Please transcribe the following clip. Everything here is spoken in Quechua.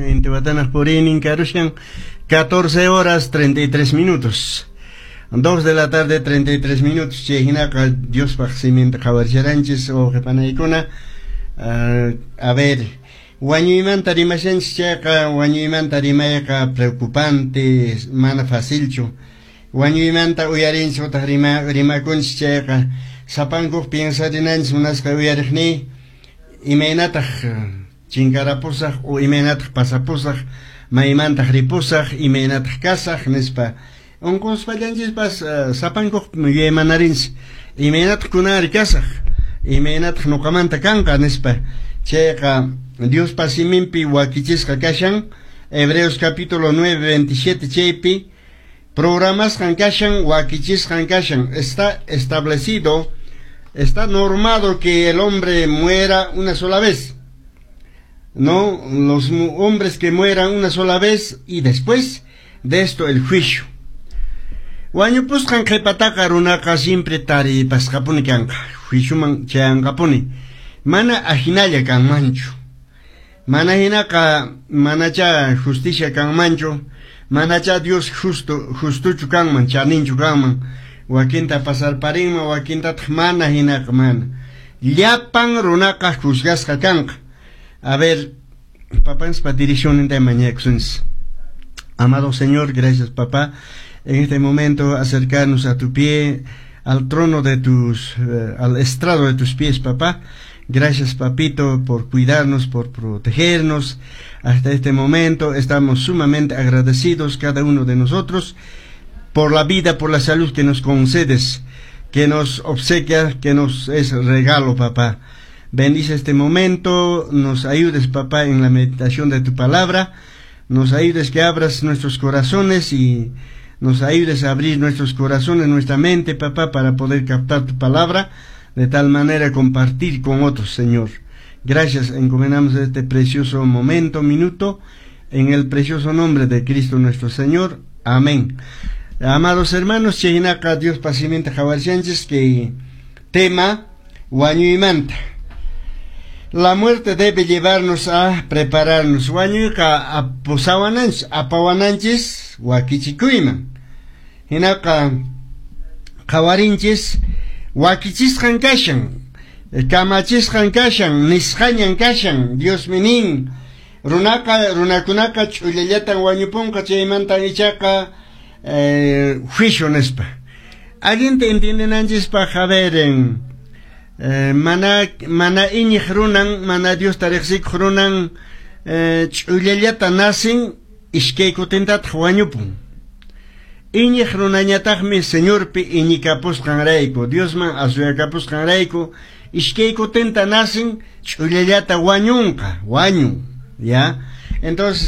Intihuatanaq puriynin karushan 14 horas 33 minutos. 2 de la tarde 33 minutos. Chay hinaqa Diospaq siminta qhawarisharanchis wawqipanaykuna. A ver, wañuymanta rimashanchis chayqa, wañuymanta rimayqa preocupante, mana facilchu. Wañuymanta uyarinchis utaq rimakunchis chayqa, sapankuq piensarinanchis, munasqa uyariqniy, imaynataq chinkarapusaq o imaynataq pasapusaq, maymantaq ripusaq, imaynataq kasaq nispa. Unquspallanchishpas sapankuq yuyaymanarinchis, imaynataq kunanri kasaq, imaynataq nuqamanta kanqa nispa. Chayqa Diospa siminpi wakichisqa kashan, Hebreos capítulo 9, 27, chaypi programasqan kashan, wakichisqan kashan, está establecido, está normado que el hombre muera una sola vez. No, los hombres que mueran una sola vez y después de esto el juicio. Wañupusqan qhipataqa runaqa siempre taripasqapuni kanqa, juicioman chayanqapuni. Mana ahinalla kanmanchu. Mana hinaqa manacha justicia kanmanchu, manacha Dios justo justuchu kanman, chaninchu kanman. Wakinta pasarparinman, wakintataq mana hinaqa mana. Llapan runaqa juzgasqa kanqa. A ver, papanchispa direccionninta mañakusunchis. Amado Señor, gracias, papá, en este momento acercarnos a tu pie, al trono de tus, al estrado de tus pies, papá. Gracias, papito, por cuidarnos, por protegernos hasta este momento. Estamos sumamente agradecidos cada uno de nosotros por la vida, por la salud que nos concedes, que nos obsequia, que nos es regalo, papá. Bendice este momento, nos ayudes, papá, en la meditación de tu palabra, nos ayudes que abras nuestros corazones y nos ayudes a abrir nuestros corazones, nuestra mente, papá, para poder captar tu palabra, de tal manera compartir con otros, Señor. Gracias, encomendamos este precioso momento, minuto, en el precioso nombre de Cristo nuestro Señor. Amén. Amados hermanos, chaynaqa Diospa siminta qhawarishanchis que tema wañuymanta. La muerte debe llevarnos a prepararnos. Wañuyqa pusawananchis, apawananchis wakichikuyman. Hinaqa qhawarinchis wakichisqan kashan, kamachisqan kashan, nisqañan kashan, Diosmi nin. Runaqa, runakunaqa ch'ullallatan wañupunqa, chaymantan ichaqa juicio nispa. Allinta entiendenanchispaq, a ver, mana iñiq runan, mana Diosta riqsikuq runan ch'ullallata nacen, iskay kutintataq wañupun. Iñiq runañataqmi Señorpi iñikapusqanrayku, Diosman asuyakapusqanrayku, iskay kutinta nacen, ch'ullallata wañunqa, wañun, ¿ya? Entonces